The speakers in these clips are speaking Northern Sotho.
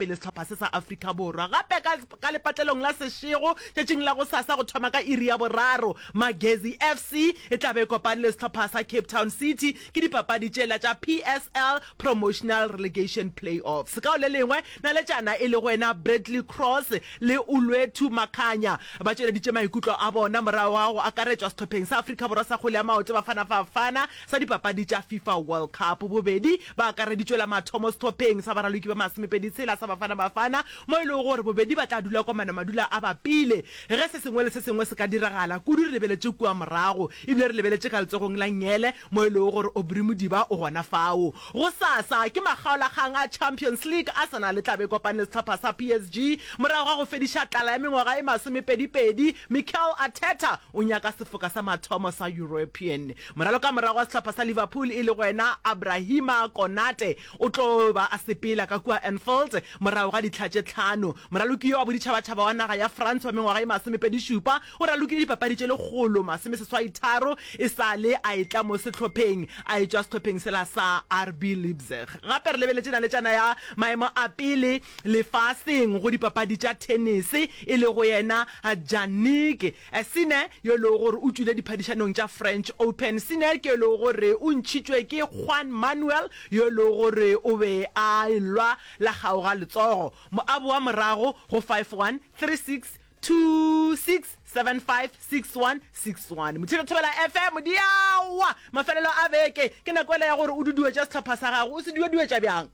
pele sehlopha se sa Afrika Borwa. Gape ka, ka lepatlelong la Seshego tšatšing la gosasa go thoma ka iri ya boraro, Magezi FC e tla be e kopane le sehlopha sa Cape Town City ke dipapadi tšela tša PSL Promotional Relegation Play-offs. Ka go le lengwe, naletšana e lego yena Bradley Cross le Olwethu Makhanya ba tšweleditše maikutlo a bona morago ga go akaretšwa sehlopheng sa Afrika Borwa sa kgwele ya maoto Bafana Bafana sa dipapadi tša FIFA World Cup. Bobedi ba akareditšwe la mathomo sehlopheng sa baraloki ba masomepedi-tshela sa Bafana Bafana mo e lego gore bobedi ba tla dula komana madula a bapile ge se sengwe le se sengwe se ka diragala, kudu re lebeletše kua morago ebile re lebeletše ka letsogong la nngele mo e lego gore Aubrey Modiba o gona fao. Gosasa ke makgaolakgang a Champions League, Arsenal e tla be e kopane le sehlopha sa PSG morago ga go fediša tlala ya mengwaga e masomepedipedi. Mikel Arteta o nyaka sefoka sa mathomo sa European. Moralokamorago wa sehlopha sa Liverpool e lego yena Abrahima Konate o tlo ba a sepela ka kua Anfield morago ga ditlha tše tlhano. Moraloki yo wa boditšhabatšhaba wa naga ya France wa mengwaga e masomepedišupa o ralokile dipapadi tše lekgolo masomeseswaitharo e sa le a etla mo sehlopheng a etšwa sehlopheng sela sa RB Leipzig. Gape re lebeletše naletšana ya maemo a pele lefaseng go dipapadi tša thenese e lego yena Jannik Sinner yo e lego gore o tšwile diphadišanong tša French Open. Sinner ke yo e lego gore o ntšhitšwe ke Juan Manuel yo e lego gore o be a elwa la kgaoga letsogo. Moabo wa morago go 5-1, 3-6, 2-6, 7-5, 6-1, 6-1. Mothira Thobela FM, diaowa! Mafelelo a beke, ke nako yela ya gore o duduetše sehlopha sa gago. O se dueduetša bjang?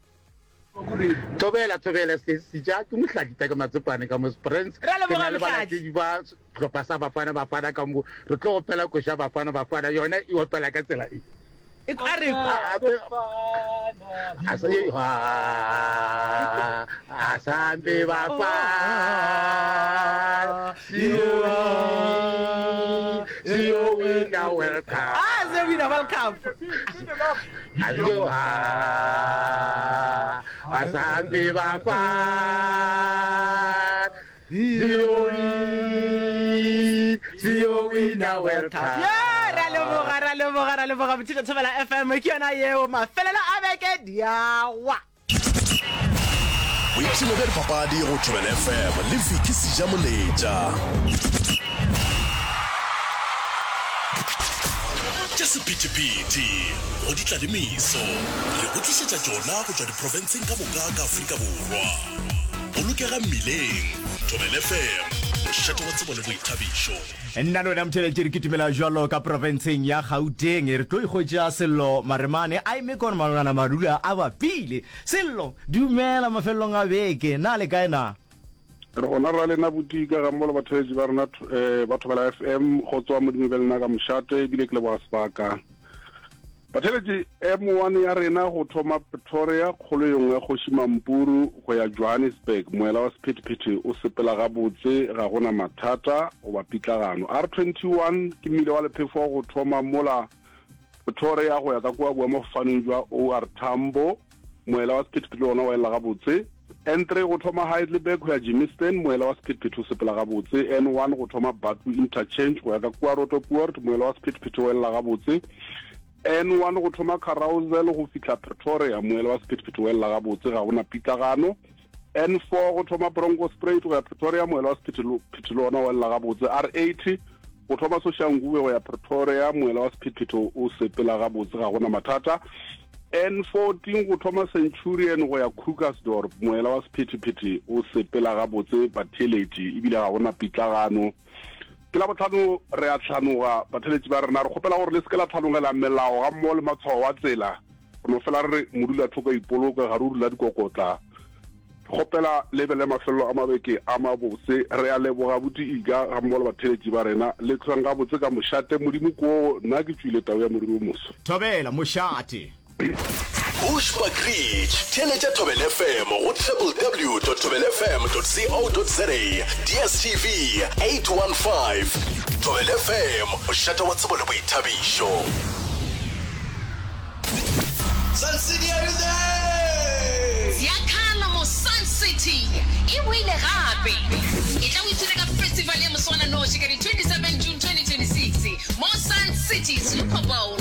Thobela, Thobela, se seja ke Mohladi Take Matsepane ka mo Springs. Ra Ke leboga na le Mohladi. balatedi ba sehlopha sa Bafana Bafana ka mo. Re tlo opela koša Bafana Bafana, yona e opela ka tsela e. E a re Asambe Bafana, siyo wina World Cup. Ah, siyo wina World Cup. Asambe Bafana, siyo wina World Cup. Yeah, ra leboga, ra leboga, ra leboga Bothito Thobela FM ke yona yeo mafelelo a beke diawa. Boipshino bja dipapadi go Thobela FM le Vicky Sejamoletša. Tša sephethephethe go ditlalemiso re go tlišetša tšona go tšwa diprofenseng ka moka ka Afrika Borwa. Bolokega mmileng. Thobela FM, mošate wa tsebo le boithabišo. Nna le wena motheeletši re kitimela bjalo ka profenseng ya Gauteng. Re tlo ikgwetša Sello Maremane a eme kwana malogana madula a bapile. Sello, dumela mafelelong a beke. Na le kae na? Re gona ra lena botika ga mmogo le batheeletši ba rena eh, ba Thobela FM go tswa Modimo be lena ka mošate ebile ke leboga sebaka. Batheeletši M1 ya rena go thoma Pretoria kgolo yengwe ya Kgoši Mampuru go ya Johannesburg moela wa sephethephethe o sepela gabotse ga gona mathata goba pitlagano. R21 ke mmila wa lephefo go thoma mola Pretoria go ya ka kua boemafofaneng jwa OR Tambo Moela wa sephethephethe le wona wa elela gabotse. N3 go thoma Heidelberg go ya Germiston, moela wa sephethephethe o sepela gabotse. N1 go thoma Bathu Interchange go ya ka kua Roodepoort, moela wa sephethephethe o elela gabotse. N1 go thoma Carousel go fihla Pretoria, moela wa sephethephethe o elela gabotse, ga go na pitlagano. N4 go thoma Bronkhorstspruit go ya Pretoria, moela wa sephethephethe le wona o elela gabotse. R80 go thoma Soshanguve go ya Pretoria, moela wa sephethephethe o sepela gabotse, ga go na mathata. N14 go thoma Centurion go ya Krugersdorp, moela wa sephethephethe o sepela gabotse batheeletši ebile ga go na pitlagano. Ke Labohlano re a hlanoga batheeletši ba rena, re kgopela gore le se ke la hlanogela melao gammogo le matshwao a tsela. Re no fela re re modulathoko a ipoloke ga re o dula dikokotla. Re kgopela le be le mafelelo a mabeke a mabose. Re a leboga Buti Iga gammogo le batheeletši ba rena. Le hlweng gabotse ka mošate. Modimo koo, nna ke tšwile tau ya moriri o moso. Thobela, mošate. Bushbuckridge, theeletša Thobela FM go www.thobelafm.co.za, DSTV 815. Thobela FM, mošate wa tsebo le boithabišo. Sun City are you there? Ziyakhala mo Sun City e boile gape. Etla o ipshine ka festival ya moswananoši ka di 27 June 2026 mo Sun City Super Bowl.